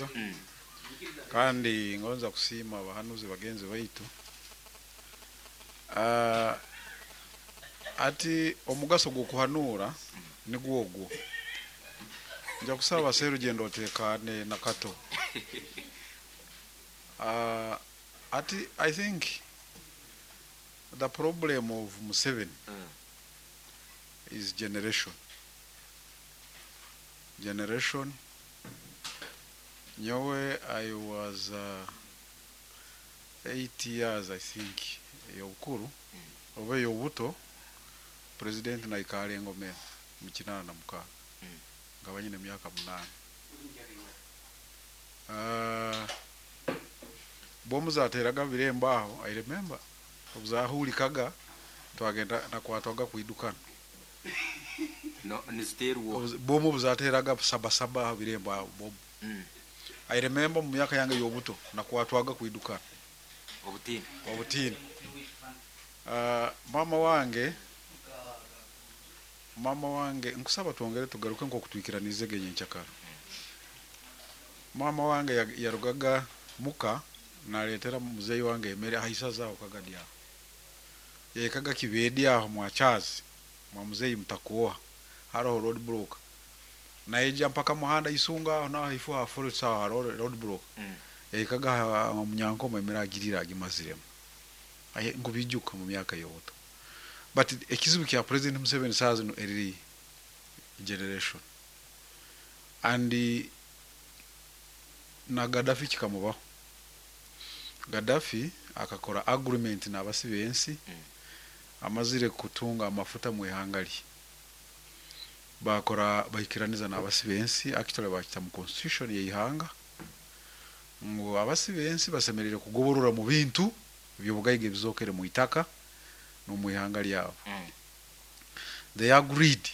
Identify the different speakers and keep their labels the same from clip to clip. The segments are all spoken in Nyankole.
Speaker 1: Eky'okubanza kandi ngonza kusiima abahanuzi bagenzi baitu. Hati omugaso gw'okuhanuura nigwo ogwo. Nja kusaba Serugendo oteekaane na Kato. Hati I think the problem of Museveni is generation. Generation, nyowe I was 8 years I think ey'obukuru oba ey'obuto, president naikaara engoma enu mu 86, nkaba nyine emyaka munaana. Bomu zateeraga birembo aho, I remember obu zahuurikaga twagenda nakwatwaga kwidukana.
Speaker 2: No, niziteerwa oha?
Speaker 1: Bomu obu zateeraga sabasaba aha birembo aho, bomu. I remember omu myaka yange ey'obuto nakwatwaga kwidukana.
Speaker 2: Obutiini.
Speaker 1: Obutiini. Maama wange, maama wange, nkusaba twongere tugaruke nk'oku twikiraniizege nyenkyakara. Maama wange yarugaga muka nareetera muzeeyi wange emere aha isaza aho Kagadi aho. Yahikaga Kibedi aho mwa Charles mwa muzeeyi Mutakwoha haroho road block. Naija mpaka muhanda Isunga aho naho haifo ha forest aho haroho road block. Yahikaga aha Munyankoma emere agiriire agimaziremu. Nkubiijuka mu myaka y'obuto. But ekizibu kya President Museveni saaha zinu eriri generation and na Gaddafi kikamubaho. Gaddafi akakora agreement nabasi bensi amazire kutunga amafuta mwihanga rye bakora bahikiraniza nabasi bensi actually bakita mu constitution yeihanga ngu abasi bensi basemerire kugoborora mu bintu ebyobugaiga ebizokere mwitaka nomwihanga ryabo. They agreed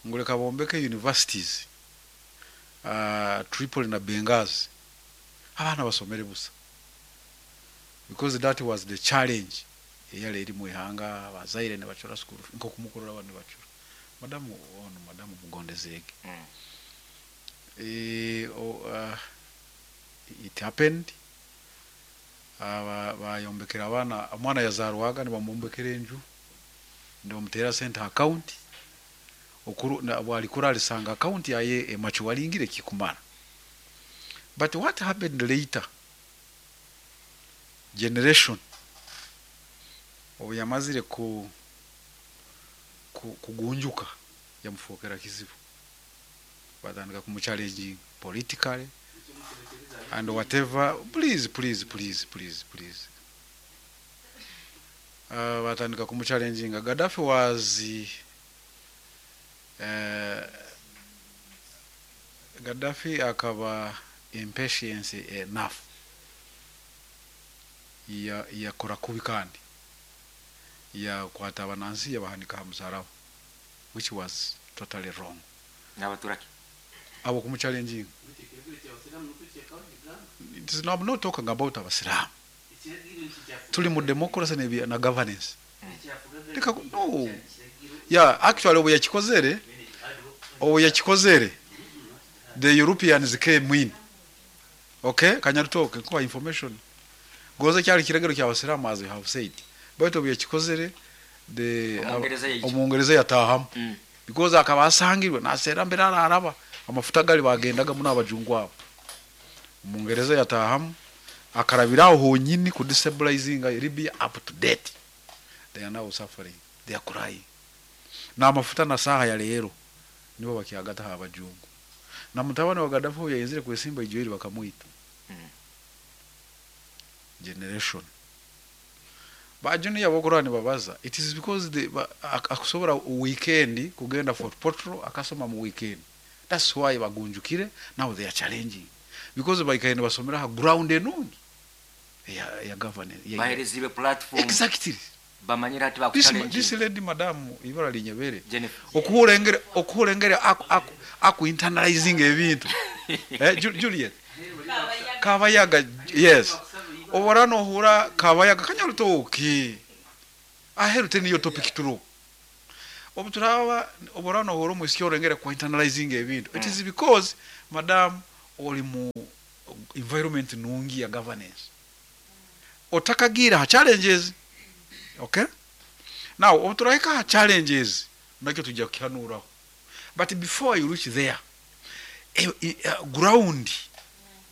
Speaker 1: ngu reka bombeke universities Tripoli na Benghazi abaana basomere busa because that was the challenge eyari eri mwihanga abazaire nibacura school fees nkoku mukurora abandi nibacura. Madamu onu madamu Mugondezeege it happened bayombekera abaana omwana yazarwaga nibamwombekera enju nibamuteera sente aha account obu arikura arisanga account yaye emachuwaringire ekikumara. But what happened later, generation obu yamazire kugunjuka yamufookera kizibu. Batandika kumuchallenginga politically and whatever, please, please, please, please, please. Batandika kumuchallenginga. Gaddafi was Gaddafi akaba impatience enough yakora kubi kandi yakwata abanansi yabahanika aha musaraba which was totally wrong.
Speaker 2: Nabatura ki?
Speaker 1: Abo kumuchallenginga. It is, I'm not talking about abasiraamu. Turi mu democracy na governance. Reka no. Yeah, actually obu yakikozere, obu yakikozere, the Europeans came in. Okay, Kanyarutoke, nkuha information. Gonza kyari kiragiro ky'abasiraamu as you have said. Baitu obu yakikozere, the
Speaker 2: Omungereza yaija.
Speaker 1: Omungereza yatahamu. Because akaba asangirwe naseera mbere araraba amafuta gari bagendaga muno abajungu abo. Omungereza yatahamu akarabira aho honyini ku destabilizinga Libya up to date. They are now suffering. They are crying. N'amafuta na saaha ya leero nibo bakyagata aha bajungu. Na mutabani wa Gaddafi obu yayenzire kwesimba ijoiri bakamwita. Generation. Ba junior abokurora nibabaza it is because they ba, akusobora weekend kugenda Fort Portal akasoma mu weekend. That's why bagunjukire now they are challenging because baikaire nibasomera aha ground enungi eya eya governance.
Speaker 2: Bahereziibwe platform.
Speaker 1: Exactly.
Speaker 2: Bamanyire hati
Speaker 1: This,
Speaker 2: bakuchallenginga.
Speaker 1: this lady madam ibara linyebere
Speaker 2: Jennifer.
Speaker 1: okuhura engeri okuhura engeri aku aku aku internalizing ebintu eh, Juliet Kabayaga yes obora nohura Kabayaga kanyarutoki aheru teniyo topic turu obu turaba obora nohura omwisiki orengere ku internalizing ebintu it is because madam ori mu environment nungi ya governance otakagiire aha challenges. Okay? Now obu turahika aha challenges nakyo twija kukihanuuraho but before you reach there, ground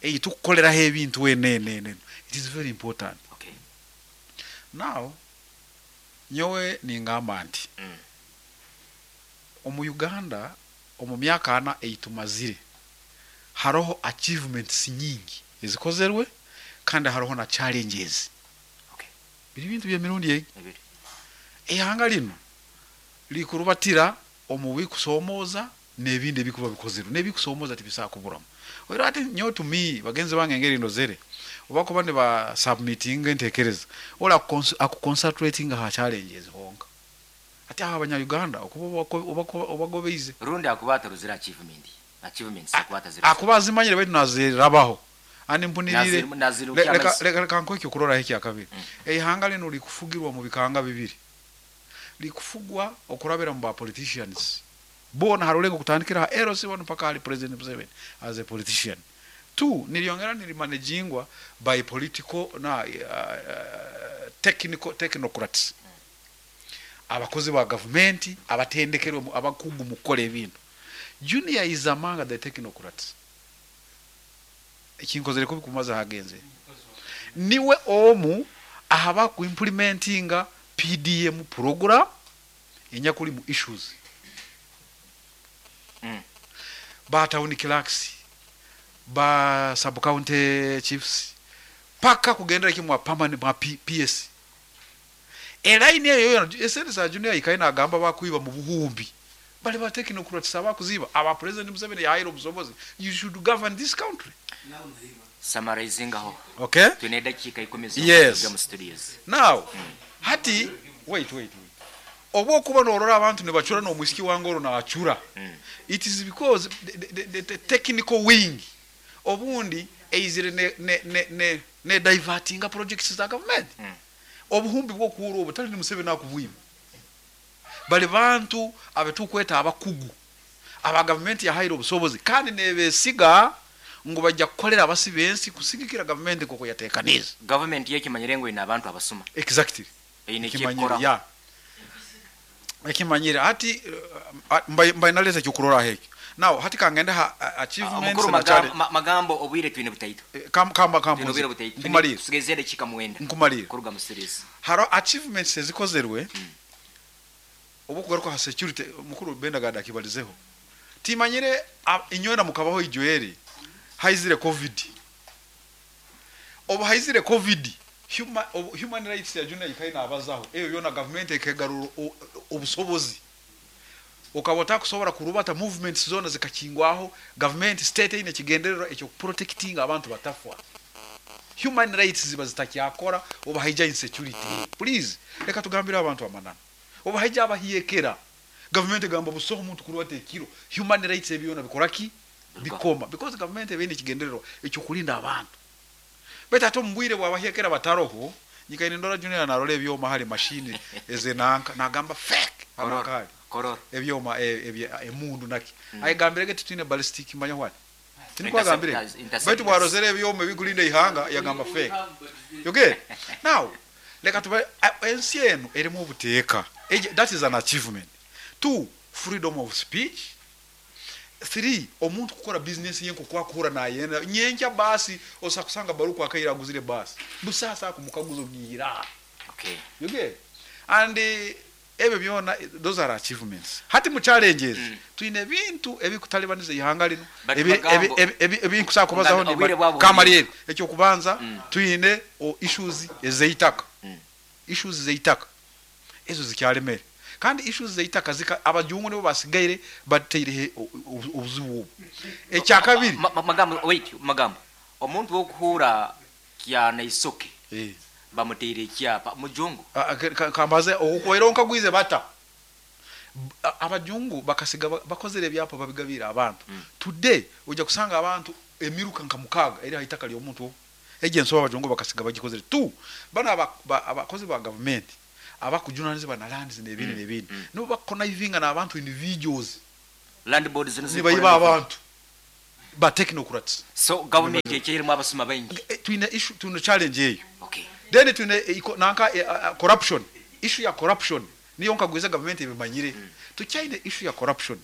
Speaker 1: ei tukukoreraho ebintu enu enu enu it is very important.
Speaker 2: Okay.
Speaker 1: Now nyowe ningamba nti omu Uganda omu myaka ana ei tumazire haroho achievements nyingi ezikozerwe kandi haroho na challenges.
Speaker 2: Okay.
Speaker 1: Biri bintu by'emirundi egi.
Speaker 2: Ebiri.
Speaker 1: Eihanga linu rikurubatira omu bikusomooza n'ebindi ebikuba bikozerwe n'ebikusomooza tibisobola kuburamu. Oiro hati nyowe to me bagenzi bange engeri ndozere obu bakuba niba submittinga entekereza ori akuconcentratinga ha challenges honka. Hati abo abanya Uganda okuba obagobeize.
Speaker 2: Rundi akuba atarozire achievement. Achievements akuba atazirozire.
Speaker 1: Akuba azimanyire baitu nazirabaho. Ani mpuniriire.
Speaker 2: Nazirukya amaiso.
Speaker 1: Leka nkuhe ekyokuroraho ekyakabiri. Eihanga linu rikufugirwa mu bikanga bibiri. Rikufugwa okurabira mu ba politicians. Boona ha rulengo kutandikira ha LC 1 mpaka hali President Museveni as a politician. Two, niryongera nirimanagingwa by political na technical technocrats. Abakozi ba gavumenti abatendekerwe abakugu mu kukora ebintu. Junior is among the technocrats. Ekinkozere kubi kumaza hagenze. Niwe omu ahaba ku implementinga PDM program enyakuri mu issues. Ba town clerks, ba sub county chiefs, paka kugendera kimwe permanent mwa PS. Elaini eyo yona esente za Junior ikaina nagamba bakwiba mu buhumbi. Bali ba technocrats abakuziba aba President Museveni yahaire obusobozi. You should govern this country.
Speaker 2: Summarizing aho.
Speaker 1: Okay?
Speaker 2: Twine edakiika ikumi
Speaker 1: Yes.
Speaker 2: z'okuruga mu studios.
Speaker 1: Now, hati wait wait wait. Obu okuba norora abantu nibacura n'omwisiki wange oro naacura. It is because the technical wing obundi eizire ne divertinga projects za government. Obuhumbi bw'okuhura obu tali ni Museveni akubwima. Bali bantu abetukweta abakugu aba gavumenti yahaire obusobozi kandi nebesiga ngu bajja kukolera abasi b'ensi kusigikira gavumenti nk'oku yateekaniize.
Speaker 2: Government yekimanyire ngu ine abantu abasuma.
Speaker 1: Exactly.
Speaker 2: Eine
Speaker 1: Ekimanyire,
Speaker 2: ekyekukora.
Speaker 1: ya. Ekimanyire hati mbaye naleeta ekyokuroraho ekyo. Now hati kangende ha achievements
Speaker 2: Mukuru
Speaker 1: na challenge.
Speaker 2: Magambo obwire twine butaito.
Speaker 1: Kamba
Speaker 2: Twine obwire butaito.
Speaker 1: Nkumalire.
Speaker 2: Tusigeze edakiika 9.
Speaker 1: Nkumalire.
Speaker 2: Kuruga mu studios.
Speaker 1: Haro achievements ezikozerwe obu kugaruka ha security mukuru Benda gada akibalizeho. Timanyire inywena mukabaho ijoeri haizire COVID. Obu haizire COVID human rights ya Junior ikaina abazaho. Eyo yona government ekegarura obusobozi. Okaba otakusobora kurubata movements zona zikakingwaho, government state ine kigendererwa ekyo protecting abantu batafwa. Human rights ziba zitakyakora oba haija insecurity. Please leka tugambire abantu amanana. Oba haija abahiyekera. Government egamba busoho omuntu kurubata ekiro. Human rights ebyona bikora ki? Bikoma. Because government ebe ine kigendererwa ekyo kulinda abantu. Baitu ate omu bwire bw'abahiyekera bataroho, nyikaine ndora Junior narora ebyoma hari machine ezenanka nagamba fake.
Speaker 2: Korora.
Speaker 1: Anakali.
Speaker 2: Korora.
Speaker 1: Ebyoma emundu naki. Ayigambire tutine ballistic manya what? Tinikwagambire.
Speaker 2: Intercept-
Speaker 1: Baitu bwarozere ebyoma ebikulinda ihanga yagamba fake. You get? Now, leka tuba ensi eno erimu obuteeka. That is an achievement. 2, freedom of speech. 3, omuntu kukora business ye nk'oku akura nayenda. Nyenkya basi osakusanga baruku akaira aguzire basi. Busasa kumukaguzo gira.
Speaker 2: Okay.
Speaker 1: You get? And ebyo byona those are achievements. Hati mu challenges twine bintu ebikutalibaniza ihanga lino.
Speaker 2: But magambo
Speaker 1: Ebinkusa kubazaho
Speaker 2: Ngambo,
Speaker 1: ni
Speaker 2: obwire bwabo
Speaker 1: Kamarieri. Ekyo kubanza twine issues ezeitaka. Issues zeitaka. Ezo zikyalemere. Kandi issues zeitaka zika abajungu nibo basigaire bateire obuzibu obu. Ekyakabiri.
Speaker 2: Magambo wait, magambo. Omuntu wokuhura kyana isoke. Bamuteire ekyapa mujungu.
Speaker 1: Kambaze okuwaira onkagwize bata. Abajungu bakasiga bakozere ebyapa babigabira abantu. Today ojja kusanga abantu emiruka nka mukaga eri haitaka ly'omuntu. Ejje nsoba abajungu bakasiga bagikozere. 2, bana abakozi ba government abakujunanizibwa na lands n'ebindi n'ebindi. Nibo bakonnivinga n'abantu individuals.
Speaker 2: Land boards zino
Speaker 1: Nibayiba
Speaker 2: zikora
Speaker 1: abantu. Ba technocrats.
Speaker 2: So gavumenti ekyairimu abasuma baingi.
Speaker 1: Twine issue, twine challenge eyo.
Speaker 2: Okay.
Speaker 1: Then twine nanka corruption, issue ya corruption niyo nkagwize gavumenti ebimanyire. Tukyaine issue ya corruption.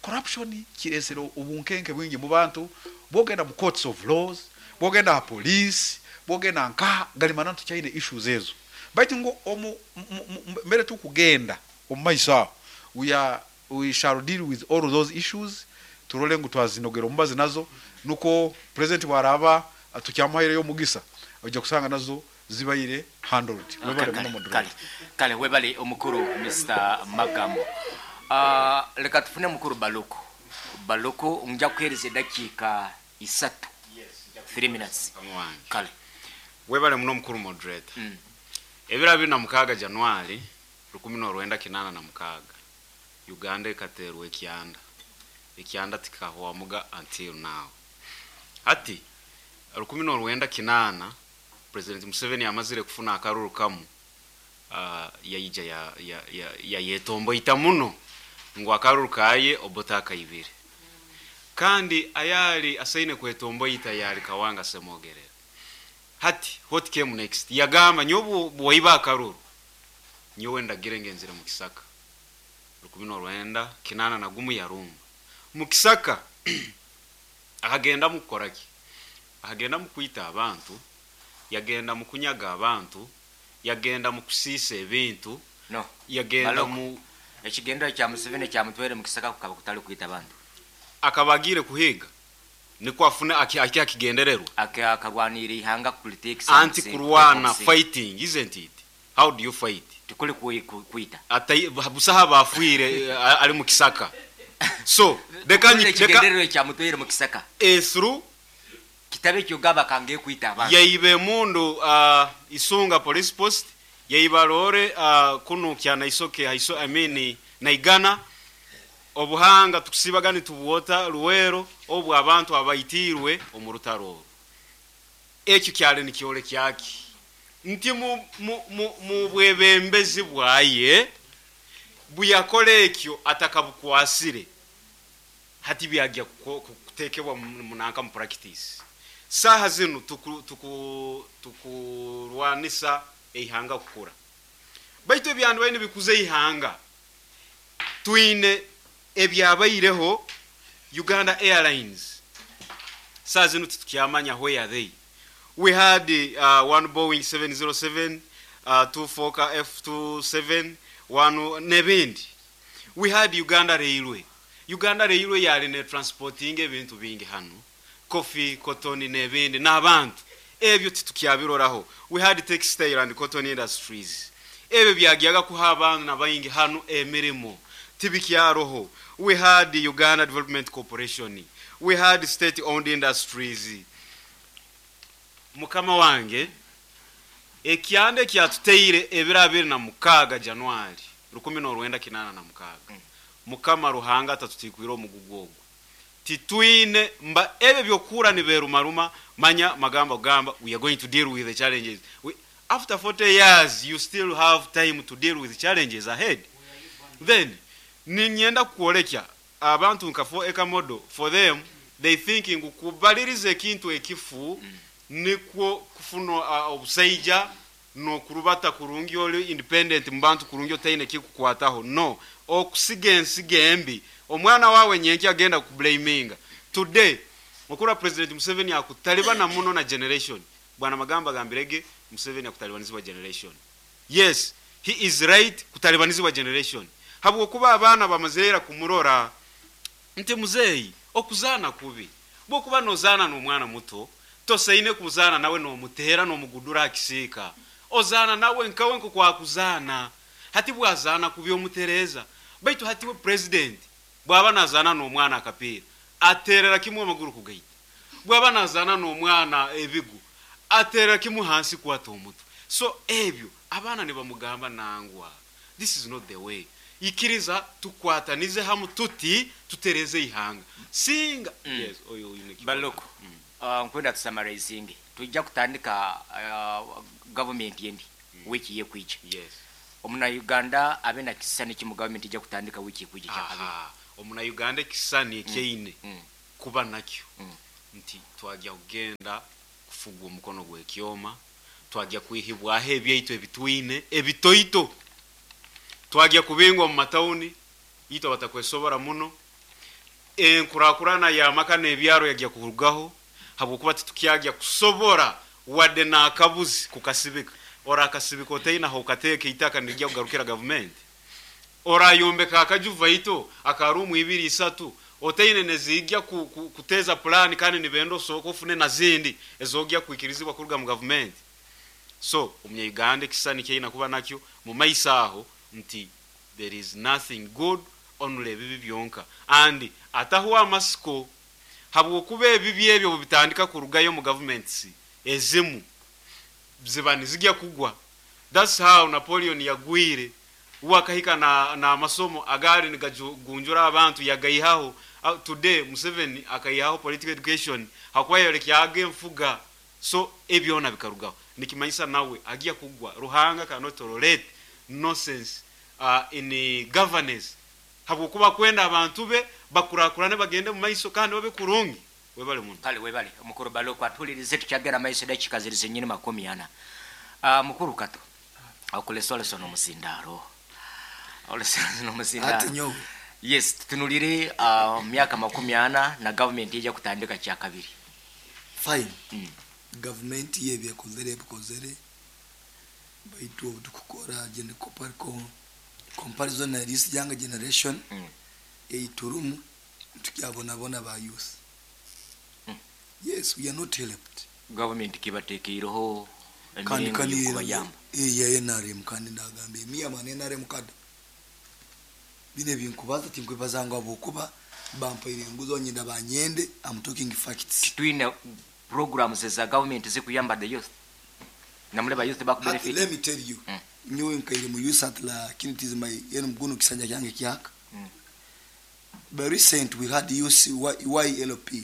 Speaker 1: Corruption kiresire obunkenke bwingi mu bantu, bwogenda mu courts of laws, bwogenda aha police, bwogenda nkaha, gari mananu tukyaine issues ezo. Baitu ngu omu mbere tukugenda omu maiso aho, we are We shall deal with all those issues turole ngu twazinogera omubazi nazo nukwo President bwaraaba tukyamuhaireyo omugisa oija kusanga nazo zibaire handled. Webale muno
Speaker 2: Kale,
Speaker 1: Moderator.
Speaker 2: kale, kale webale omukuru Mister Magambo. Leka tufune mukuru Baluku. Baluku ngya kuhereza edakiika isatu, 3 minutes.
Speaker 3: Mukama wange.
Speaker 2: Kale.
Speaker 3: Webale muno mukuru Moderator. Ebiro 26 January 1986 Uganda ekateerwa ekyanda. Ekyanda tikikahwamuga until now. Hati, 1980, President Museveni amazire kufuna akaruru kamu, yaija yayetomboita muno ngu akaruru kaye Obote akaibire. Kandi ayali asaine kwetomboita yali Kawanga Ssemogerere. Hati, what came next? Yagamba, nyowe bwaiba akaruru, nyowe ndagire ngenzire mukisaka. 1981 yarumba mukisaka akagendamu kukora ki? Akagendamu kwita abantu, yagenda mu kunyaga abantu, yagenda mu kusiisa ebintu,
Speaker 2: No.
Speaker 3: yagenda
Speaker 2: Balogo.
Speaker 3: mu.
Speaker 2: Ekigendererwa kya Museveni ekyamutwaire mukisaka kukaba kutari kwita bantu.
Speaker 3: Akaba agiire kuhiiga nikwo afune ahike aha kigendererwa.
Speaker 2: Akarwanirira eihanga kuriteekisa
Speaker 3: Anti
Speaker 2: omusingi,
Speaker 3: kurwana,
Speaker 2: kuteeka omusingi.
Speaker 3: fighting, isn't it? How do you fight?
Speaker 2: Tikuri kwita.
Speaker 3: Atai, busaho abaafwire ari mu kisaka. So, reka
Speaker 2: Hurira
Speaker 3: nyi, reka.
Speaker 2: ekigendererwa ekyamutwaire mu kisaka.
Speaker 3: Through.
Speaker 2: Kitabe eky'ogamba kange kwita abantu.
Speaker 3: Yaiba emundu Isunga police post, yaiba loore kunu Kyanaisoke, I mean Naigana. Obuhanga tukusiibaga nitubwota Luweero obu abantu abaitiirwe omu rutaro oru. Ekyo kyali nikyorekya ki? Nti mu, mu, mu, mu bwebembezi bwaye buyakora ekyo atakabukwasire, hati byagya kutekebwa mu nanka mu purakitisi. Saaha zinu tuku, tuku, tukurwanisa eihanga kukura. Baitu ebyandibaire nibikuza eihanga, twine ebyabaireho Uganda Airlines. Saaha zinu titukyamanya where are they. We had one Boeing 707, two Fokker F27, one n'ebindi. We had Uganda Railway. Uganda Railway yali netransportinga ebintu bingi hanu, coffee, cotton n'ebindi n'abantu. Ebyo titukyabiroraho. We had textile and cotton industries. Ebyo byagyaga kuha abaana baingi hanu emirimo. Tibikyaroho. We had Uganda Development Corporation. We had state owned industries. Mukama wange, ekyanda ekyatuteire ebiro 26 January 1986, Mukama Ruhanga atatutikwire omugugu ogwo. Titwine mba ebyo eby'okuhurra niberumaruma, manya magamba kugamba we are going to deal with the challenges. We, after 40 years you still have time to deal with challenges ahead. Then niinyenda kukworekya abantu nka 4 acre model for them they think ngu kubaliriza ekintu ekifu nikwo kufuna obusaija nokurubata kurungi ori independent mubantu kurungi otaine ekikukwataho no okusiga ensigo embi omwana wawe nyenkya agenda kukublaminga today okurora president Museveni akutalibana muno na generation Bwana Magamba agambire ge Museveni akutalibanizibwa generation yes he is right kutalibanizibwa generation habwokuba abaana bamazire ira kumurora nti muzeeyi okuzaana kubi bwokuba nozaana nomwana muto tosaine kuzaana nawe nomuteera nomugudura aha kisiika ozaana nawe nkawe nkokwakuzaana hati bwazaana kubi omutereeza baitu hati we president bwaba nazaana nomwana akapiira ateerera kimwe amaguru kugaita Bwaba nazaana n'omwana ebigu, ateerera kimwe hansi kwata omutwe. So ebyo abaana nibamugamba nangwa this is not the way. Ikiriza tukwatanize hamu tuti tutereeze eihanga. Singa yes oyo oine ekikora.
Speaker 2: Baloko, nkwenda tu summarizing. Twija kutandika gavumenti endi wiiki ekwija.
Speaker 3: Yes.
Speaker 2: Omuna Uganda abe na kisisani ki mu gavumenti eija kutandika wiiki ekwija ekyakabiri?
Speaker 3: Aha, omuna Uganda ekisisani eki aine. kuba nakyo nti twagya kugenda kufugwa omukono gw'ekyoma, twagya kwihibwaho ebyaitu ebitwine ebitoito, twagya kubingwa mu matauni itwe abatakwesobora muno, enkurakurana y'amaka n'ebyaro yagya kurugaho habwokuba titukyagya kusobora wadde n'akabuzi kukasibika. Orakasibika otaine ah'okateeka eitaka nirigya kugarukira gavumenti? Orayombeka akaju vaito aka ruumu ibiri isatu otaine neziija kuteeza pulaani kandi nibenda osooke ofune na zindi ezogya kwikirizibwa kuruga mu gavumenti? So omunya-Uganda ekisisani eki aine kuba nakyo mu maiso aho nti there is nothing good only ebibi byonka and atahwa amasiko habwokuba ebibi ebyo obubitandika kurugayo omu gavuments ezimu ziba nizigya kugwa. That's how Napoleon yagwire, uwe akahika na n'amasomo agaali nigagunjura abantu yagaihaho. Today Museveni akaihaho political education hakuba yayolekyaga enfuga. So ebyona bikarugaho. Nikimanyisa nawe agya kugwa. Ruhanga cannot tolerate nonsense in governance habwokuba akwenda abantu be bakurakurane bagende mumaiso kandi babe kurungi. Webale muno.
Speaker 2: Kale webale mukuru Baloku atuhulirize tukyagenda maiso edakika ziri zenyini 40. Mukuru Kato okulesolesa n'omuzindaaro. Olesolesa n'omuzindaaro.
Speaker 4: Ati nyowe.
Speaker 2: Yes, tutunulire myaka 40 na government eija kutandika kyakabiri.
Speaker 4: Fine. Gavumenti yo ebi ekozere ebikozere baitu obu tukukora comparison na this younger generation ei turimu nitukyabonabona ba youth. Yes, we are not helped.
Speaker 2: Gavumenti kibateekeireho
Speaker 4: Kandi
Speaker 2: emiringo
Speaker 4: kandi
Speaker 2: y'okubayamba.
Speaker 4: ya NRM kandi ndagamba me am an NRM cadre. Bino ebinkubaza tinkwebaza ngu habwokuba bampaire enguzi nyenda banyende, I'm talking facts.
Speaker 2: Titwine programs za government zikuyamba the youth. Namuleba youth baku
Speaker 4: Hati,
Speaker 2: benefit.
Speaker 4: let me tell you. Nyowe nkaire mu youth at la it is my yenu mguno kisanja kyange kyaka. But recent we had youth YLP.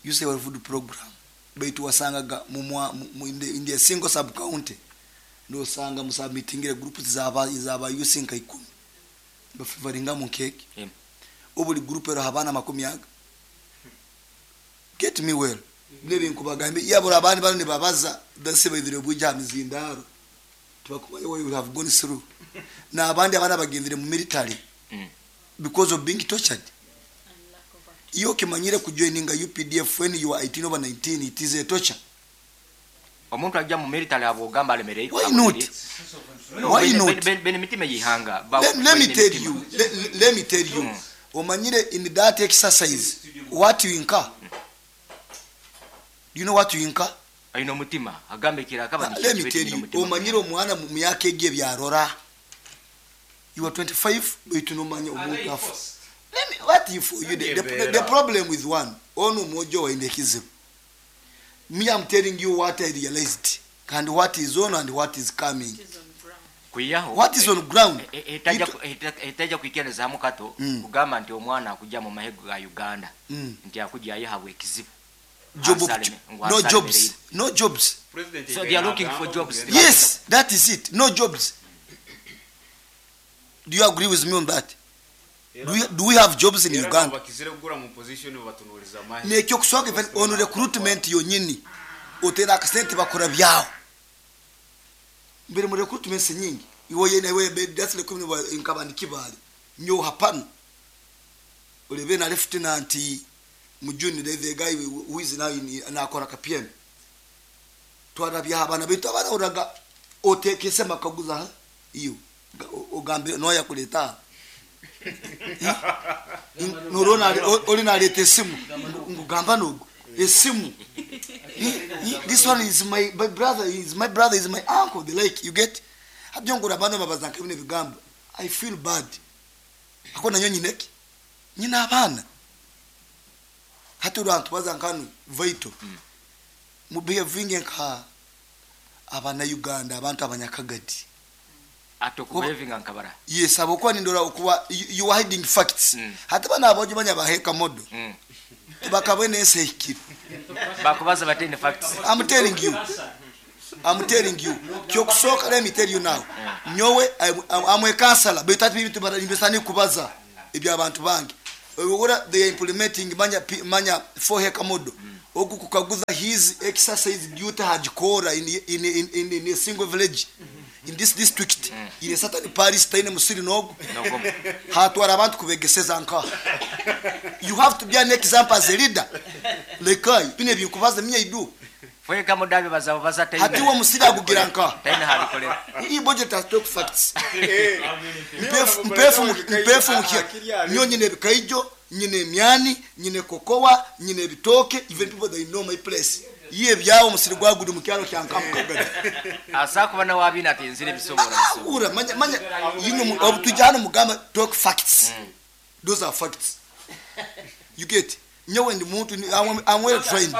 Speaker 4: Youth World Food Program. Baitu wasangaga in the single sub county. Ndosanga musubmittingire groups zaba youth nka 10. Bafavoringa mu cake. Obuli group ero habana makumi aga. Get me well. Nebi nkubagambe yabura abandi bano nibabaza dase baidire buja mizindaro. Tubakumaye we have gone through. Na abandi abana bagendire mu military. Because of being tortured. Iyo kimanyire kujoininga UPDF when you are 18 over 19, it is a torture.
Speaker 2: Omuntu ajja mu military abogamba alemereye.
Speaker 4: Why not?
Speaker 2: No,
Speaker 4: Why not?
Speaker 2: Bene mitima yihanga.
Speaker 4: Let me tell you. Let me tell you. Omanyire in that exercise what you incur. Do you know what you incur?
Speaker 2: Aino mutima agambe kira kaba ni
Speaker 4: Let me tell you. Omanyire omwana mu myaka egyo byarora. You are 25 but you no manya omuntu afa. Let me, what if you the problem with one onu mojo wa indekizibu. Me, I'm telling you what I realized and what is on and what is coming.
Speaker 2: Kuyaho.
Speaker 4: What is on ground?
Speaker 2: Etaja kuikereza mukato kugamba nti omwana akujja mu mahego ga Uganda. Nti akujja ayihabwe ekizibu.
Speaker 4: Job no jobs. No jobs.
Speaker 2: So they are looking for jobs.
Speaker 4: Yes, that is it. No jobs. Do you agree with me on that? Do we have jobs in Uganda? Nekyo kuswaka on recruitment yonyini. Otera akasente bakora byawo. Mbere mu recruitment nyingi. Iwo yene we that's the community nkabandi kibali. Nyo hapana. Olebe na lieutenant Mujuni the guy who is now in nakora ka PM. Twarabya abana bitu abana uraga otekese makaguza iyo ogambe no yakuleta. Nurona oli naleta esimu ngugamba nogo esimu. This one is my brother, is my brother, is my uncle, the like you get. Habyongura bano babazanka bine bigambo. I feel bad. Akona nyonyi neki nyina abana. Hati urantu bazankanu vaito. Mu behavinge nka abana Uganda abantu abanyakagadi.
Speaker 2: Atokubevinga nkabara.
Speaker 4: Yes, abokuwa nindora okuwa you are hiding facts. Hata bana abojo banya baheka modo. Bakabone ense
Speaker 2: Bakubaza batene facts.
Speaker 4: I'm telling you. I'm telling you. Kyokusoka let me tell you now. Nyowe I'm a counselor. But that bintu bari mbesani kubaza ebya abantu bange. Ora they are implementing manya manya 4 hectare model. Ogu kukaguza his exercise duty hagikora in, in, in, in, in a single village in this district in a certain parish taine musiri nogu
Speaker 2: Nogwo.
Speaker 4: Hatwara abantu kubegeseza nka you have to be an example as a leader. Lekai bine binkubaza minya idu.
Speaker 2: Fweka mudabi bazaba baza.
Speaker 4: Hati uwo musiri agugira nka
Speaker 2: taine habikolera.
Speaker 4: Iyi budget has talk facts. Mpefu mpefu mpefu mukia nyo nyine bikaijo, nyine emyani, nyine kokowa, nyine ebitoke. Even people, they know my place. Iye byawo musiri gwagudi mu kyalo kya Nkamukagari.
Speaker 2: Asa kuba nawe abina ati nzire bisobora.
Speaker 4: Ura manya manya yino obutujana mugamba talk facts. Those are facts you get. Nyowe ndi muntu I'm well trained.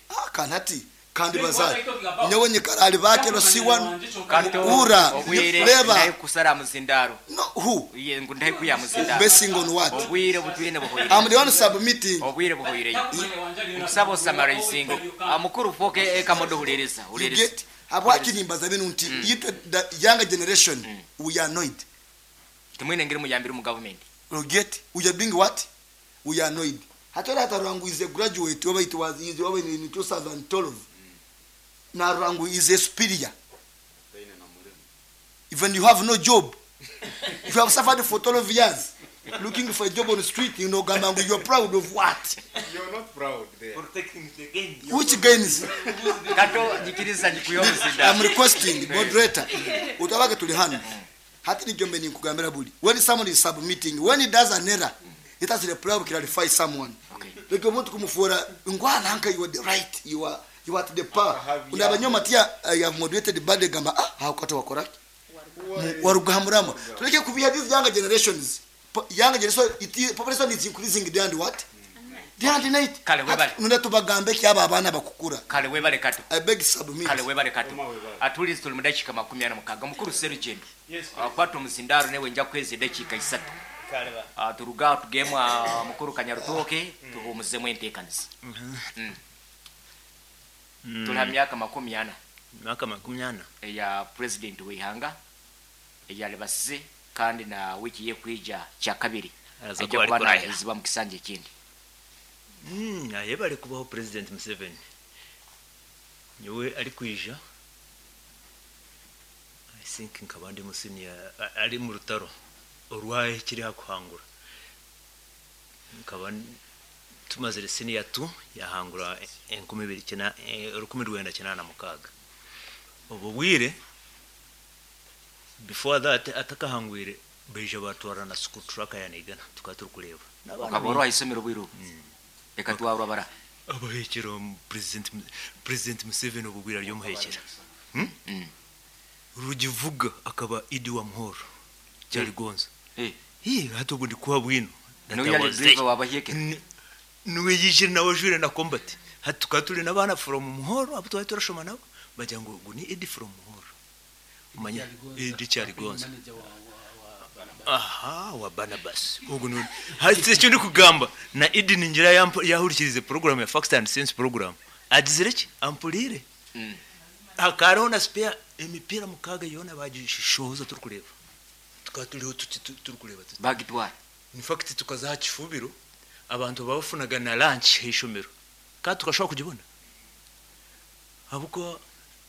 Speaker 4: Ah, kanati kandi bazali nyowe nyikarali bakero siwa.
Speaker 2: Kato.
Speaker 4: Ura
Speaker 2: obwire
Speaker 4: leba.
Speaker 2: Ndaye kusara muzindaro.
Speaker 4: No, who?
Speaker 2: Iye ngu ndaye kuya muzindaro.
Speaker 4: Basing on what?
Speaker 2: Obwire butwine buhoire.
Speaker 4: I'm the one submitting.
Speaker 2: Obwire buhoire, nkusaba osummarizingo mukuru foke ekamodo hulereza.
Speaker 4: You
Speaker 2: Hulereza.
Speaker 4: get habwaki nimbaza bino nti itwe the younger generation, we are annoyed.
Speaker 2: Tumwine ngiri muyambire mu government.
Speaker 4: You get? We are doing what? We are annoyed. Hatari hata Rangu is a graduate over, it was is over in 2012 na Rangu is a superior. Even you have no job, you have suffered for 12 years looking for a job on the street, you know, gamba you are proud of what?
Speaker 3: You're not proud there.
Speaker 5: Protecting the gains.
Speaker 4: Which gains?
Speaker 2: Kato nyikiriza nyikuya
Speaker 4: I'm
Speaker 2: muzindaro.
Speaker 4: Requesting moderator utabake tuli hano hati nijombe ninkugambira buli when someone is submitting, when he does an error, it has the power to clarify someone.
Speaker 2: Okay.
Speaker 4: Like omuntu kumufuura ngwana nka you are the right, you are at the power.
Speaker 3: Akahabya.
Speaker 4: Unabanyoma tia I have moderated bade gamba ah hakata wakora warugahamurama tuleke kubia these younger generations. Younger generation, it population is increasing day and what, day and night.
Speaker 2: Kale, webale.
Speaker 4: Nunda tubagambe kyaba abaana bakukura.
Speaker 2: Kale webale kato.
Speaker 4: I beg submit.
Speaker 2: Kale webale kato.
Speaker 3: Oma webale.
Speaker 2: Atulizi tuli mu dakiika 46. Mukuru Serugendo.
Speaker 5: Yes.
Speaker 2: Kwata omuzindaro newe nja kweza edakiika 3.
Speaker 5: Kale ba.
Speaker 2: Turuga tugemu mukuru Kanyarutoke tuhumuzemu enteekaniza. Tuli ha myaka 40.
Speaker 5: Myaka 40.
Speaker 2: Eya president w'ihanga eyalibasize kandi na wiki yekwija kyakabiri
Speaker 5: Araza
Speaker 2: ajja
Speaker 5: kuba ari
Speaker 2: kuba
Speaker 5: kurahira.
Speaker 2: nahizibwa mu kisanja ekindi.
Speaker 5: Aye bari kubaho President Museveni nyowe ari kwija, I think nkaba ndi musiniya ari mu rutaro orwaye kiri hakuhangura nkaba tumazire senior 2 yahangura 2009 1986. Obwo bwire before that atakahangwire beija batwara na school truck yanigana tukaba turi kureba. N'abaana
Speaker 2: Ukaba orwaye isomero bwiru reka twarwa bara.
Speaker 5: Abahekera President Museveni obubwira ryomuhekera. Rugivuga akaba Idi wa Muhoro Kyaligonza. Hi hati ubwo ndi kuha bwino.
Speaker 2: Niwe yali driver wabahekera.
Speaker 5: Niwe yijire nawe jure na combat hati tukaba turi n'abana from Muhoro abo twari turashoma nabo bagira ngo ngo ni Idi from Muhoro umanya Idi Kyaligonza aha wa Barnabas ubwo ni hasi icyo ndi kugamba na Idi ningira yahurikirize program ya Facts and Sense program agizire ki ampurire. Hakariho na spare emipira mukaga yona bagishoza turi kureba tukaba turiho turi kureba tuti
Speaker 2: Bagitwara.
Speaker 5: In fact tukaza kifubiro abantu babafunaga na lunch hishomero kandi tukashobora kugibona abuko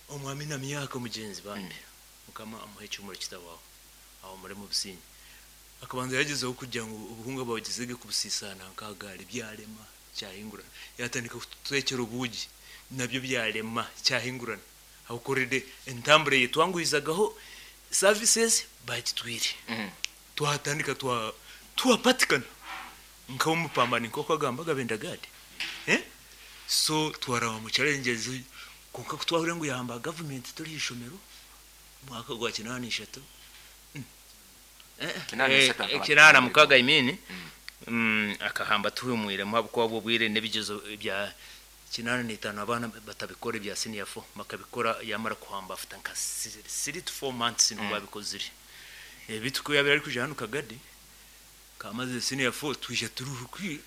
Speaker 5: omwami na myaka mugenzi bambe mukama amuhe icyumuro kitabaho aho muri mu businyi akabanza yagezeho kugira ngo ubuhunga bawugezege kubusisana nkagari byarema cyahingurana yatandika kutwekera ubugi nabyo byarema cyahingurana aho korede entambure yetwanguhizagaho services bagitwire. Twatandika twa twapatikana nk'umupambani nk'uko agambaga bendagade eh? So twaraba mu challenges kuko twahurira ngo yahamba government turi ishomero mwaka gwa 83.
Speaker 2: 83 akaba-
Speaker 5: 86 I mean akahamba tuhumwire mu bwo bwire n'ebigezo bya 85 abana batabikora ibya senior 4 bakabikora yamara kuhamba after nka 3 to 4 months nibwo babikozire. Bitu yabera ari kuja hano kagadi kamaze senior 4 twije turi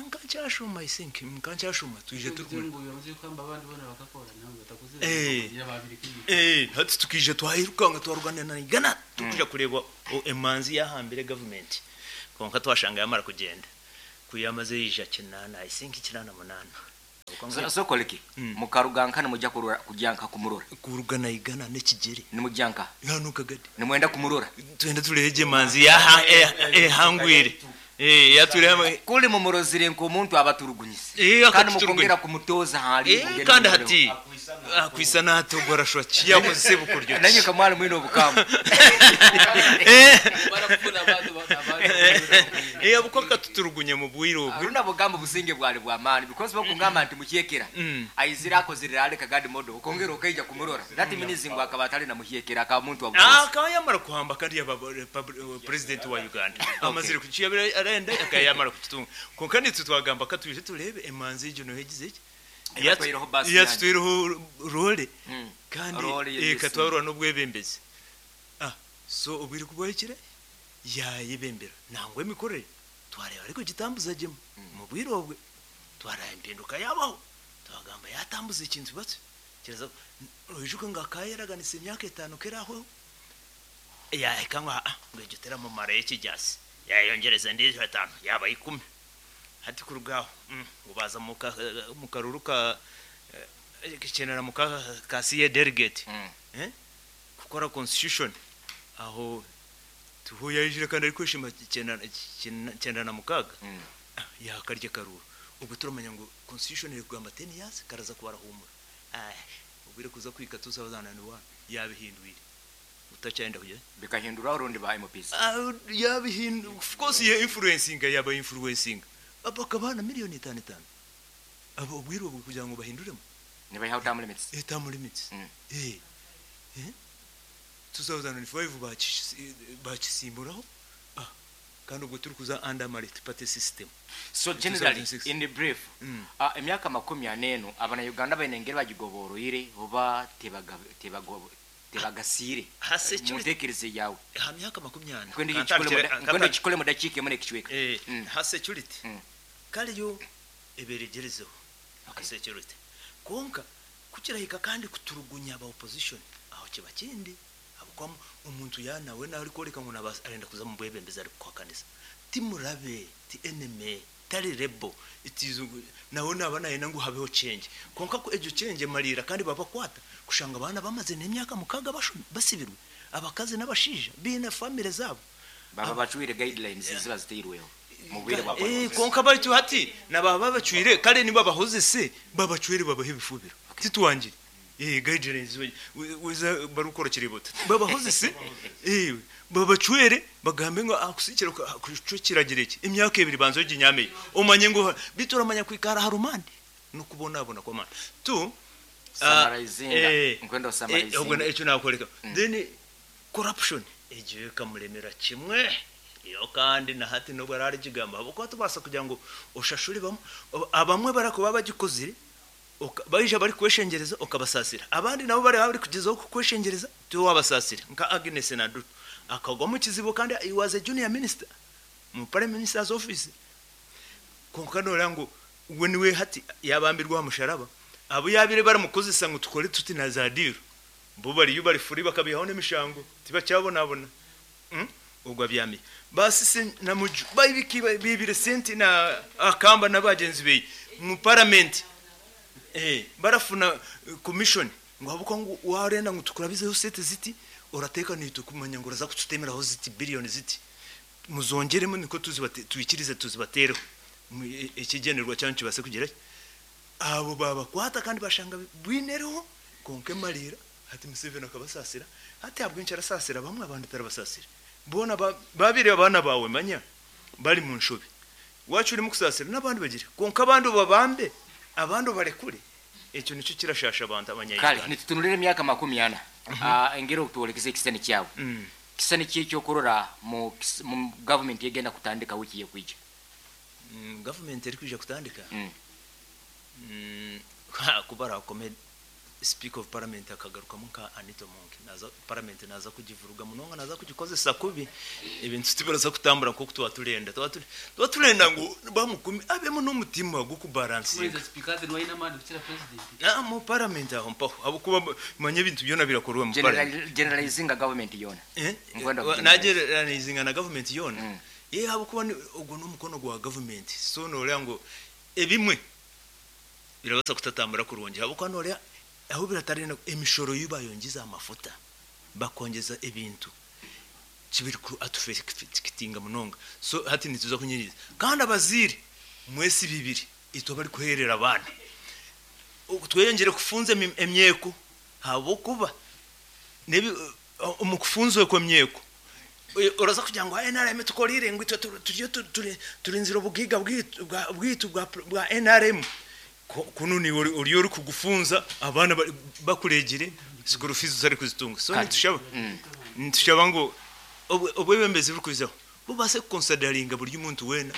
Speaker 5: nkacyashuma, I think nkacyashuma twije turi hati tukije twahirukanga twarwanira na Igana tukuja kureba emanzi yahambire government. Konka twashanga yamara kugenda. Ku yamaze yija 80, I think 88.
Speaker 2: Sokoleki mukaruga nka nimujya kurora kujya nka kumurora.
Speaker 5: Kuruga naigana n'ekigere.
Speaker 2: Nimujya nka
Speaker 5: Hano kagadi.
Speaker 2: Nimwenda kumurora.
Speaker 5: Twenda tureje manzi yaha ehangwire. Yaturema
Speaker 2: kuli mumurozire nk'omuntu abaturugunyise.
Speaker 5: Eh,
Speaker 2: Kandi
Speaker 5: akatuturugunya.
Speaker 2: mukongera kumutoza hali.
Speaker 5: Kandi hati akwisa natogora shwa kiyakoze bukuryo.
Speaker 2: Nanyo kamwali mwino obukamu.
Speaker 6: Barapfuna abantu abantu.
Speaker 5: Abuko akatuturugunya mu bwire obwo.
Speaker 2: Aruna bugamba businge bwali bwa maani because bakungamba nti muhyekera. Aizira akozerera ale kagadi modo okongera okaija kumurora. That means ngo akaba atali na muhyekera akaba muntu wa bukozi.
Speaker 5: Akaba yamara kuhamba kandi yaba president wa Uganda. Amazire kuciyabira arenda akayamara kukitunga. Konka nitwe twagamba katuje turebe emanzi ejo no hegize iki.
Speaker 2: Yatwireho basi.
Speaker 5: Yatwireho role. Kandi
Speaker 2: Role yes.
Speaker 5: katwarwa n'obwebembezi. So obwire kubwahikire yayebembera nangwa emikorere twareba ariko gitambuza gemu mu bwire obwe twaraba empinduka yabaho twagamba yatambuza ekintu batyo kiraza oijuka nga akayeraganisa emyaka 5 keraho yahika ngo ngo egyo teramumara ekijasi yayongereza endiijo 5 yaba 10 hati kurugaho ngo baza mu karuru ka kenera mu ka CA delegate kukora constitution aho tuhuye yijira kandi ari kwishima 96 yakarya karuru ubwo turamenya ngo constitution iri kugamba 10 years karaza kubarahumura ubwire kuza kwika 2001 yabihinduye utacyenda kujya
Speaker 2: bikahindura urundi ba MPs
Speaker 5: yabihindu of course ye influencing yaba influencing abakabana miliyoni 5 abo ubwire ubwo kugira ngo bahinduremo
Speaker 2: niba how term limits
Speaker 5: term limits 2005 bakisimburaho kandi ubwo turi kuza under multi-party system.
Speaker 2: So generally in the brief emyaka 40 abana Uganda bainengera bagigoboroire oba tebagasire mutekereze yawe
Speaker 5: ha myaka 40
Speaker 2: kwende chikole mudachike mune kichweka
Speaker 5: ha security kale yo eberegerezeho ha security konka kukirahika kandi kuturugunya aba opposition aho kiba kindi abukwamo umuntu yanawe nawe ariko ngo arenda kuza mu bwebembeza ari kwakanisa timurabe ti enemy tari rebo itizu nawe naba naye nangu habeho change konka ko ejo change marira kandi babakwata kushanga abana bamaze n'imyaka mukaga basibirwe abakazi n'abashija bina family zabo
Speaker 2: baba bacwire guidelines ziba ziteirweho mu bwire bwa
Speaker 5: konka bari hati nababa bacwire kare niba bahoze se babacwire babahe ibifubiro titwangire guidelines wiza barukora kiribota babahoze se babacwere bagambe ngo akusikira kucukiragira iki imyaka 2 banzo ginyameye umanye ngo bituramanya kwikara harumande no kubona kwa mana tu
Speaker 2: summarizing nkwendo summarizing
Speaker 5: ubwo icyo nakoreka then corruption egiye kamuremera kimwe iyo kandi na hati no barari gigamba abuko tubasa kugira ngo ushashuri bamwe abamwe barakuba bagikozire bayija bari kweshengereza okabasasira abandi nabo bari bari kugezaho kweshengereza tu wabasasira nka Agnes Nadutu akagwa mu kizibo kandi he was a junior minister mu prime minister's office konka nora ngo we niwe hati yabambirwa musharaba abo yabire baramukozesa ngo tukore tuti na zadiro bo bari bari furi bakabihaho n'imishango tibacyabonabona ubwo byami basise na muju bayibiki bibire senti na akamba nabagenzi be mu parliament barafuna commission ngo abuko ngo warenda ngo tukurabizeho sete ziti urateka nito kumanya ngo uraza kututemeraho ziti billion ziti muzongeremo niko tuzibate tuikirize tuzibatereho ikigenerwa cyane kibase kugira abo babakwata kandi bashanga bwinereho konke marira hati Museveni akabasasira hati abwinshi arasasira bamwe abandi tarabasasira bona babire abana bawe manya bari mu nshobe wacu urimo kusasira n'abandi bagire konka abandi babambe abandi barekure icyo nicyo kirashasha abantu abanyayuganda
Speaker 2: kale nitutunulire emyaka 40 engero tuolekeze ekisani kyawe kisani ki ekyokurora mu government yegenda kutandika wiki yekwija
Speaker 5: government eri kwija kutandika kubara kome speaker of parliament akagaruka nka Anita Monk naza parliament naza kugivuruga munonga naza kugikozesa kubi ebintu tibaraza kutambura nko tuba turenda ngo bamukumi abemo n'umutima go kubalansinga mu parliament aho mpaho abo kuba manye ibintu byona birakorwa mu parliament
Speaker 2: generalizing government yona
Speaker 5: generalizing na government yona Ye ahabw'okuba ogwo n'omukono gwa gavumenti, so nooreeba ngu ebimwe birabaasa kutatambura kurungi ahabw'okuba nooreeba ahu biratarenda emishoro ei baayongyeza aha mafuta bakongyeza ebintu kibiriku atufekitinga munonga so hati nituza kunyiriza kandi abazaire mwesi bibiri itwe abarikuheerera abaana tweyongyere kufunza emyeko ahabw'okuba nebi omu kufunza okwo emyeko oraza kugira ngu NRM etukoreire ngu itwe turiyo turinzire obugaiga bwaitu bwa NRM kunu niiwe oriyo orikugufunza abaana bakuregire school fees otarikuzitunga so nitushaba nitushaba ngu obwebembezi burikwizaho bubaase kuconsideringa buri muntu weena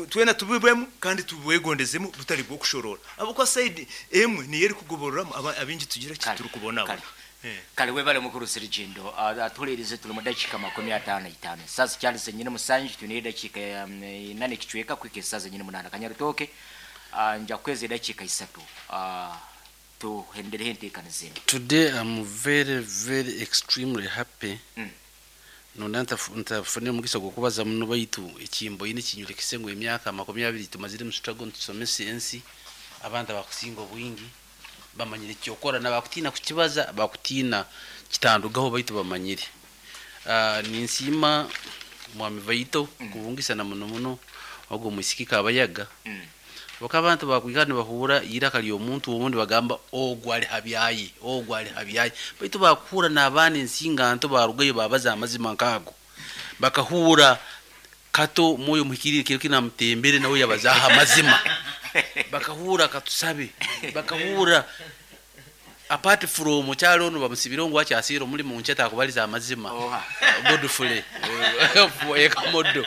Speaker 5: twena tubibwemu kandi tubwegondezemu butari bw'okushoroora ahabw'okuba side emwe niyo erikugobororamu abaingi tugira ki turikubonabona.
Speaker 2: Kale webale mukuru Sirigindo. Atuhulirize tuli mu dakiika 55. Esaaha zikyali zenyine musanju twineyo edakiika ina n'ekicweka kuhika esaaha zenyine munaana. Kanyarutooke nja kukuheereza edakiika isatu tuhendereho enteekaniza enu.
Speaker 6: Today am very very extremely happy nonda ntafunire omugisa gw'okubaza muno baitu ekimboine kinyorekise ngu emyaka 20 tumazire omu struggle nitusomesa ensi abantu abakusinga obwingi bamanyire ekyokora nabakutiina kukibaza bakutiina kitandugaho baitu bamanyire. Ninsiima Mwami Vaito kubungisa na muno muno ogwo omwisiki Kabayaga habwokuba abantu bakwikara nibahuura eiraka ry'omuntu obundi bagamba ogu ari habyaye ogu ari habyaye baitu bakuhuura n'abaana ensinganto barugayo babaza amazima nk'ago bakahuura Kato Mwoyo Omuhikiriire kiro kinu amutembere nawe yabazaho amazima bakahuura Katusabe bakahuura apart from kyali onu bamusibireho ngu akyasiire omulimo ngu takubaliza amazima Godfrey Ekamodo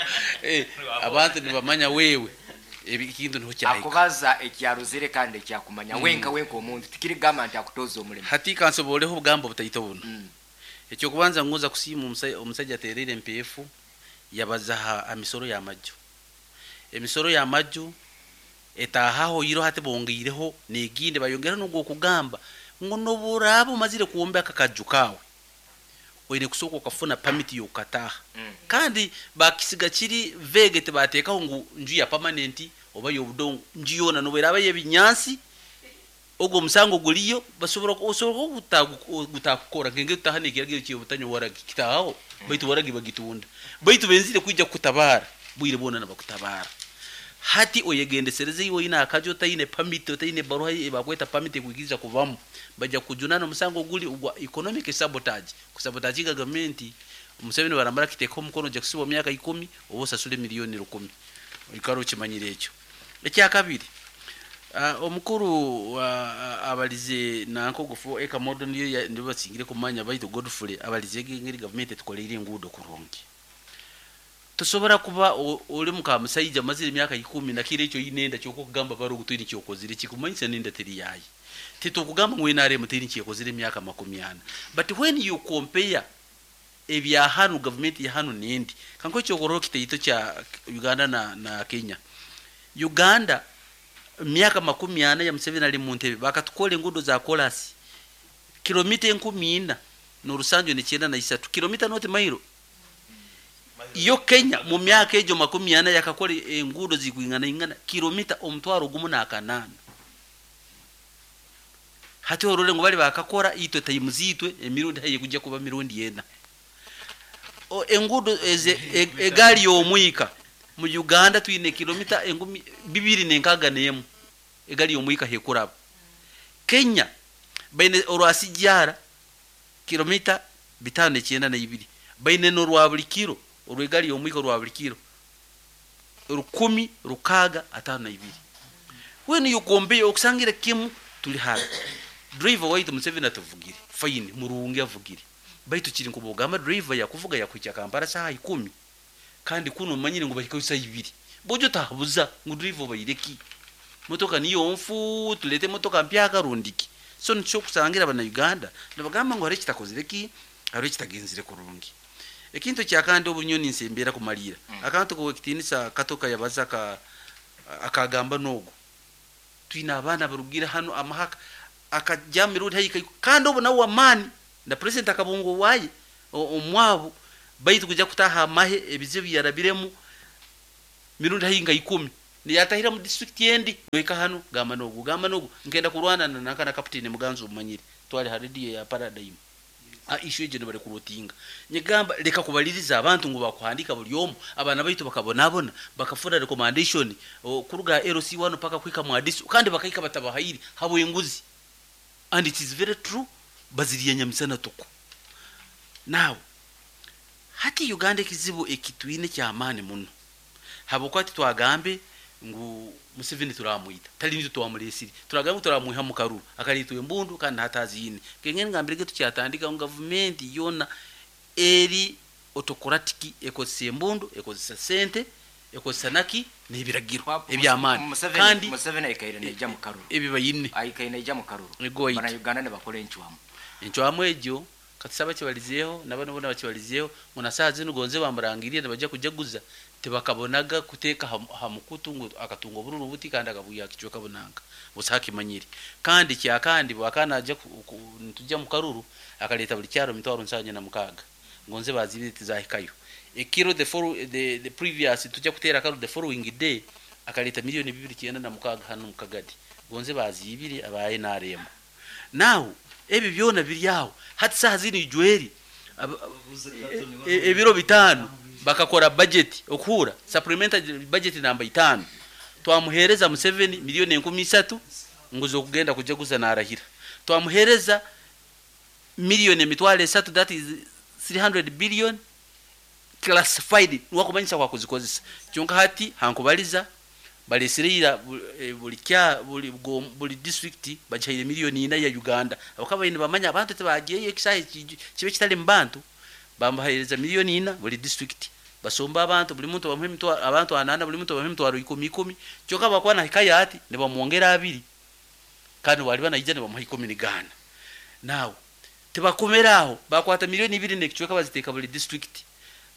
Speaker 6: abantu nibamanya wewe ekintu niho kyahika.
Speaker 2: Akubaza ekyarozere kandi ekyakumanya wenka wenka omuntu tikirigamba nti akutoza omulimo.
Speaker 6: Hati kansoboleho obugambo butaito buno. Ekyokubanza ngonza kusiima omusaija atereire empeefu yabaza ha misoro y'amaju. Emisoro y'amaju etaahaho iro hati bongeireho n'egindi bayongeraho n'ogw'okugamba ngu n'obu oraaba omazire kwombeka akaju kaawe oine kusooka okafuna pamiti y'okukataaha. Kandi bakisiga kiri vague tibateekaho ngu nju ya permanent oba y'obudongo, nju yoona n'obu eraaba y'ebinyaasi ogwo omusango guriyo basobora osobola gutakukora nk'engeri tutaaha n'ekiragiro ky'obutanywa waragi kitaahaho baitu waragi bagitunda baitu benzire kwija kukutabaara bwire bwona nibakutabaara. Hati oyegendesereze iwe oine akaju otaine pamiti otaine ebaruha ebakweta pamiti ekwikiriza kubamu baija kukujunaana omusango guri ogwa economic sabotage kusabotaginga gavumenti Museveni baramara akiteekaho omukono oija kusibwa myaka ikumi oba osasule milioni rukumi oikare okimanyire ekyo. Ekyakabiri omukuru abalize nanka ogu 4 acre model niyo nibo basingire kumanya baitu Godfrey abalize engeri gavumenti etukoleire enguudo kurungi. Tosobora kuba ori muka musaija omazire emyaka ikumi na kiro ekyo oine enda kyonka okugamba baro ngu toine ekyokozire kikumanyisa nenda teri yaaye. Titukugamba ngu NRM teine ekyekozire emyaka 40 but when you compare ebya hanu gavumenti ya hanu nendi kankuhe ekyokurorraho kitaito kya Uganda na Kenya. Uganda myaka 40 ya Museveni ari muntebe bakatukora enguudo za korasi kilomita 4793 kilomita not mailo. Yo Kenya mu myaka egyo 40 yakakora enguudo zikwinganaingana kilomita 1008. Hati orore ngu bari bakakora itwe times itwe emirundi haihi kujya kuba mirundi ena. Enguudo eze egaari y'omwika mu Uganda twine kilomita 261 egaari y'omwika hekuraba. Kenya baine orwa Sijara kilomita 592 baine n'orwa buri kiro orw'egaari y'omwika orwa buri kiro 1652. When you compare okusangire kimu tuli hara. Driver waitu Museveni atuvugire fine murungi avugire baitu kiri nk'obugamba driver yakuvuga yakuhikya Kampala saha 10 kandi kuno omanyire ngu bahikayo saha ibiri bojo otahabuza ngu driver obaire ki motoka niyo nfu tulete emotoka mpyaka rundi ki so nikyo okusangira abana Uganda nibagamba ngu hariho ekitakozire ki hariho ekitagenzire kurungi. Ekintu ekyakandi obu nyowe ninsembera kumariira akantu k'owekitinisa Kato kayabaza akagamba n'ogu twine abaana abarugire hanu amahaka akajya mirundi haihi kandi obu nawe w'amaani na president akabunga owaaye omwabo Baitu kuja kutaha amahe ebizibu yarabiremu mirundi haihi nka 10 niyatahira mu district endi noika hano gamba nogu gamba nogu nkenda kurwana na nanka na captain Muganzu umanyire twali ha radio ya Paradigm issue egyo nibari kurotinga nyigamba leka kubaliriza abantu ngu bakuhandika buli omu abana baitu bakabonabona bakafuna recommendation kuruga LC1 paka kwika mu adisu kandi bakaika batabahairi habo enguzi. And it is very true, baziriye nyamisana tuku. Now hati Uganda ekizibu ekitwine kyamaani muno habwokuba twagambe ngu Museveni turamwita tali nitwe twamuresire turagambe turamwiha mu karuru akalitwa embundu kandi hataziyine kengene ngambire tukyatandika ngu gavumenti yona eri autocratic ekozesa embundu ekozesa sente ekozesa naki n'ebiragiro ebyamaani
Speaker 2: kandi Museveni aikaire neija mu karuru
Speaker 6: ebibayine
Speaker 2: aikaire neija mu karuru
Speaker 6: Bana
Speaker 2: Uganda nibakora encwamu
Speaker 6: encwamu egyo katusaba kibalizeeho nabano bona bakibalizeeho ngo na saa zinu gonze bamurangiriye nibajya kujaguza tibakabonaga kuteeka ha mukutu ngu akatunga obururu buti kandi akabuya kicweka bunanga busa hakimanyire. Kandi kyakandi bwakana aja nitujja mu karuru akaleta buli kyaro 76 ngonze bazibire tizahikayo ekiro the previous tujja kutera karuru the following day akaleta 2,996 hano mu Kagadi gonze bazibire abaye narema. Now ebi byona biri aho hati saha zino ijweri ebiro 5 bakakora budget okuhura supplementary budget namba 5 twamuhereza Museveni 3,000,000 nguzo kugenda kujaguza narahira twamuhereza 3,000,000 that is 300 billion classified wakumanyisa kwa kuzikozesa kyonka hati hankubaliza balesirira buli district bachaire 4,000,000 ya Uganda abakaba ine bamanya abantu tebagiye ekisahe kibe kitali mbantu bambahereza 4,000,000 buli district basomba abantu buli muntu bamuhe mitwaro abantu 8 buli muntu bamuhe mitwaro 10 kyoka bakwana hikaya ati ne bamwongera 2 kandi wali banaija ne bamuha 10 Now tebakomeraho bakwata 2,000,000 nekichweka baziteka buli district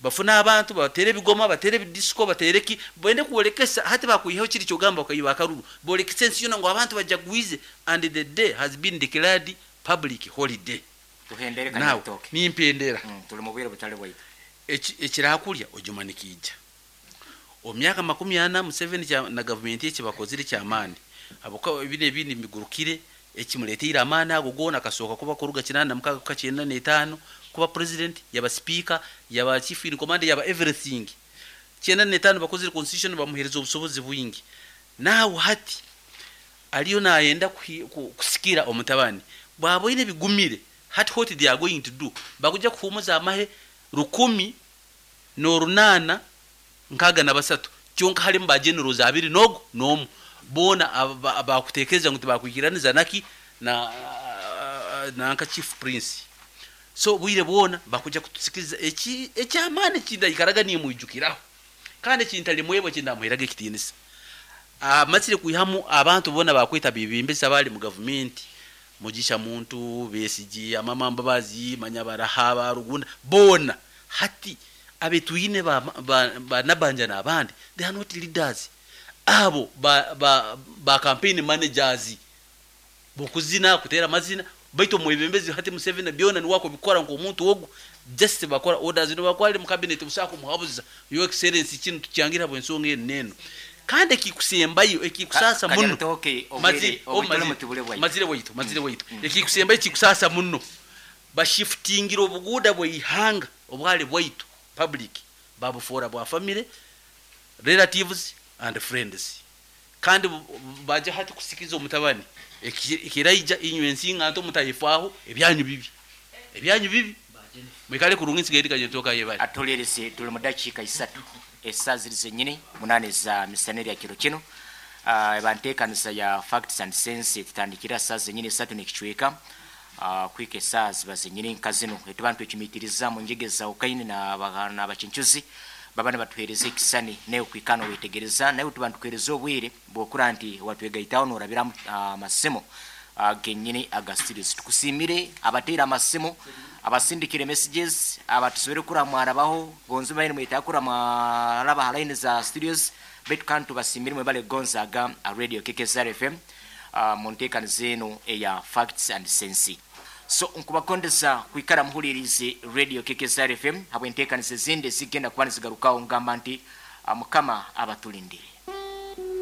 Speaker 6: bafuna abantu batere bigoma batere disco batereki bwende kuolekesa hati bakuiho kiri kyogamba okayiba akaruru bolekesa ensi yona ngo abantu bajagwize and the day has been declared public holiday.
Speaker 2: Tuhendere kanyatoke
Speaker 6: nimpendera
Speaker 2: tuli mu bwire butale bwaitu
Speaker 6: ekirakulya ojumanikija omyaka 40 Museveni na government yeki bakozire kyamaani abuka ebine ebindi migurukire ekimuleteire amaani ago gona akasoka kuba kuruga 86 95 kuba president yaba speaker yaba chief in command yaba everything. 95 bakozire constitution bamuhereza obusobozi bwingi. Nawe hati aliyo nayenda kusikira omutabani bwaboine bigumire hati what they are going to do bakuja kuhumuza amahe 1063 kyonka halimu ba generals 2 nogo nomu bona abakutekereza ngu tibakwikiraniza naki na nanka chief prince. So bwire bona bakuja kutusikiriza eki ekyamaani kindayikaraga nimwijukiraho kandi kintali mwebwe kindamuheraga ekitinisa amazire kuihamu abantu bona bakwita bibimbisa bali mu government Mugisha Muntu Besigye Amama Mbabazi Manyabaraha Barugunda bona hati abetuyine ba nabanja n'abandi they are not leaders abo ba campaign managers bokuzina kutera mazina baito mwebembezi hati Museveni byona ni wako bikora ngo omuntu ogu just bakora orders no bakwali mu cabinet busako muhabuza your excellency kinu tukyangira bwensonga eno kandi ekikusembayo ekikusasa muno mazire waitu ekikusembayo ekikusasa muno bashiftingira obuguda bweihanga obwali bwaitu public babufora bwa family relatives and friends kandi baje hati kusikiza omutabani ekiraija inywe ensinga nto mutayifaho ebyanyu bibi mwikale kurungi nsigaye kanyetoka yebali
Speaker 2: atolerese tuli mu dakika 3 esaziri zenyini 8 za misaneri ya kiro kino bantekanisa ya facts and sense tutandikira saa zenyini 3 nekichweka kwike saa ziba zenyini nkazino etubantu ekimitiriza mu njegeza ukaini na bagana abachinchuzi babana batuhereze kisani nayo kwikano wetegereza nayo tubantu kwereza obwire bwokura nti watwegaitaho norabira amasemo genyini aga studios tukusimire abatera amasemo abasindikire messages abatusubire kuramwarabaho gonzo bayine mwita kuramwaraba line za studios betu kantu basimire mwebale gonzaga radio KKSR FM muntekano zeno eya facts and sense. So nkubakondesa kwikara muhulirize Radio KKSR FM habw'enteekaniza ezindi ezigenda kuba nizigarukaho, ngamba nti Mukama abatulindire.